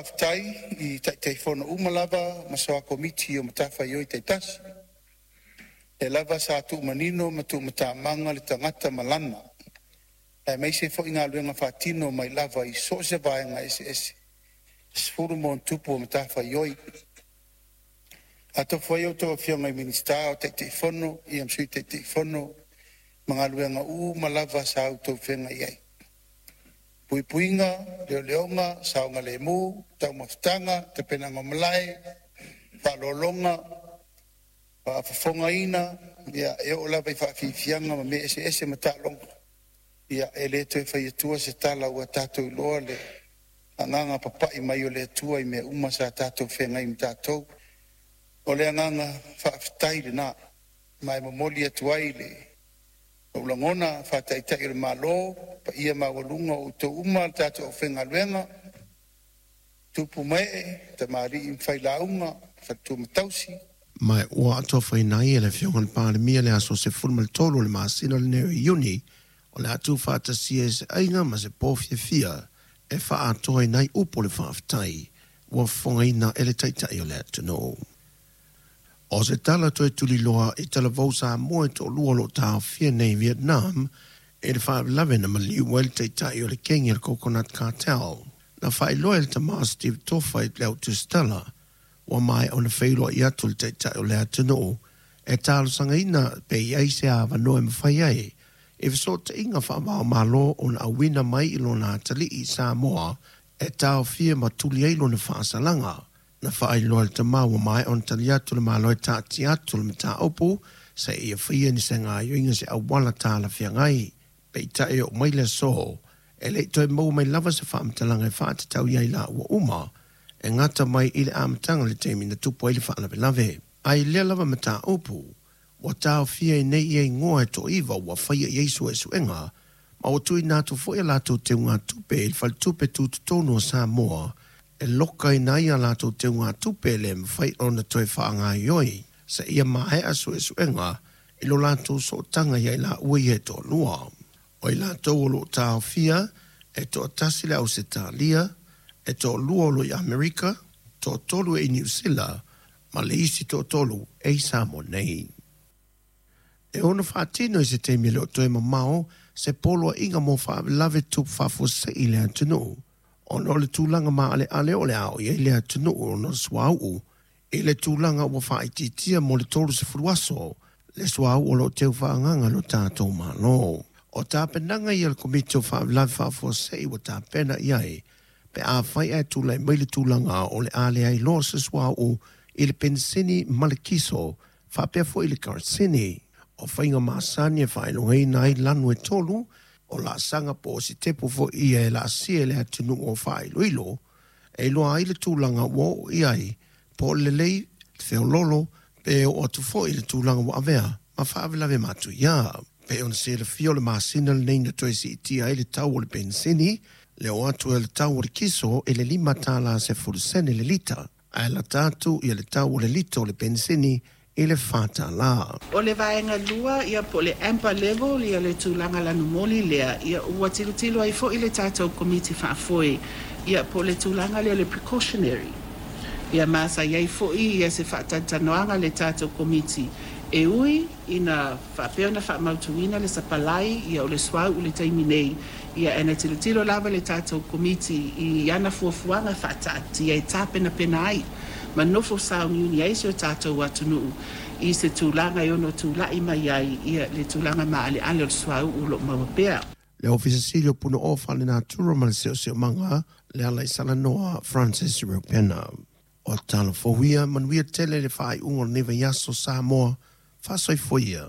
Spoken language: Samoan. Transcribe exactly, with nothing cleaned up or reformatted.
Faafetai i Taitaifono uma lava ma Soa Komiti o matafaioi taitasi, lea lava sa tuumanino ma tuumatamaga le tagata ma lana, aemaise foi galuega faatino mai lava i so o se vaega eseese e sefulu ma ona tupu o matafaioi. Atonu foi a outou Afioga i Minisita o Taitaifono ma Sui Taitaifono ma galuega uma lava sa outou feagai ai, puipuiga, leoleoga, saogalemu, taumafataga, tapenaga o malae, faaaloaloga, faafofogaina ia e oo lava i faafiafiaga ma mea eseese ma taaloga. Ia e le toe fai atua se tala ua tatou iloa le agaga papai mai o le Atua i mea uma sa tatou feagai ma tatou. O le agaga faafetai lena ma e momoli atu ai le ou lagona faa-Taitai o le Malo, paia maualuga o outou uma le tatou aufaigaluega, tupu ma ee, tamalii ma failauga, faletua ma tausi. Ma ua atofaina ai e le Afioga i le Palemia le aso sefulu ma tolu o le masina lenei o Iuni o le a tuufaatasia e se aiga ma se po fiafia e faaatoaina ai upu o le faafetai ua fofogaina e le Taitai o le atunuu. O se tala toe tuliloa i talavou Samoa e toalua o lo o taofia nei i Vietnam i le faalavelave na maliu ai le taitai o le kegi o le Coconut Cartel. Na faailoa e le tama Steve Tofa i le autusitala ua maea ona feiloai atu le Taitai o le atunuu e talosagaina pe i ai se avanoa e mafai ai e fesootaiga faava-o-Malo ona auina mai i lona atalii i Samoa e taofia ma tuli ai lona faasalaga. Na faailoa e le tama ua maea ona tali atu le Malo e taatia atu le mataupu seia faia ni se gaoioiga se auala talafeagai. Peitai e oo mai le aso e le i toe maua mai lava se faamatalaga e faatatau i ai laua uma e gata mai i le amataga le taimi na tupu ai le faalavelave. Ae i lea lava mataupu ua taofia ai nei ia igoa e toaiva ua faia i ai suesuega ma ua tuuina atu foi a latou teugatupe i le Faletupe Tutotonu o Samoa e lokaina ai a latou teugatupe e le mafai ona toe faagaoioi seia maea suesuega i lo latou sootaga ia i laua ia e toalua. O i latou o lo o taofia e toatasi le Ausetalia, e toalua o lo o i Amerika, toatolu e i Niu Sila ma le isi toatolu e i Samoa nei. E ono faatino i se taimi e le o toe mamao se poloaiga mo faalavelave tutupu faafuasei i le atunuu ona o le tulaga maaleale o le a oo i ai le atunuu ona o le suauu i le tulaga ua faaitiitia mo le tolusefulu aso le suauu o lo o teu faaagaaga e lo tatou Malo. O tapenaga ia a le Komiti o Faalavelave Faafuasei ua tapena i ai pe afai ae tulai mai le tulaga o le a leai loa se suauu i le penisini ma le kiso faapea foi i le kerosene. O faiga masani e faailogaina ai lanu e tolu o laasaga po o sitepu foi ia e laasia e le atunuu o faailoilo e iloa ai le tulaga ua oo i ai po o le lelei le feoloolo pe oo atu foi i le tulaga ua avea ma faalavelave matuia. Pei ona silafia o le masina lenei na toe siitia ai le tau o le penisini le oo atu e le tau o le kiso i le lima tala sefulu sene le lita ae lata atu ia le tau o le lita o le penisini i le fa tala. O le vaega lua ia po o le amber level ia le tulaga lanumoli lea ia ua tilotilo ai foi le tatou Komiti Faafoe ia po o le tulaga lea o le precautionary ia ma sa i ai foi ia se faatalatalanoaga a le tatou Komiti e ui ina faapea ona faamautuina le sapalai ia o le suauu i le taimi nei ia e na tilotilo lava le tatou Komiti i ana fuafuaga faataatia e tapenapena ai ma nofo sauniuni ai si o tatou atunuu i se tulaga e ono tulai mai ai ia le tulaga maaleale o le suauu o lo o maua pea. Le Ofisa Sili o Punaoa Faalenatura ma le Siosiomaga le Alaisalanoa Francis Reupena. O tala fou ia, manuia tele le faaiuga o lenei vaiaso Samoa, faasoifua ia.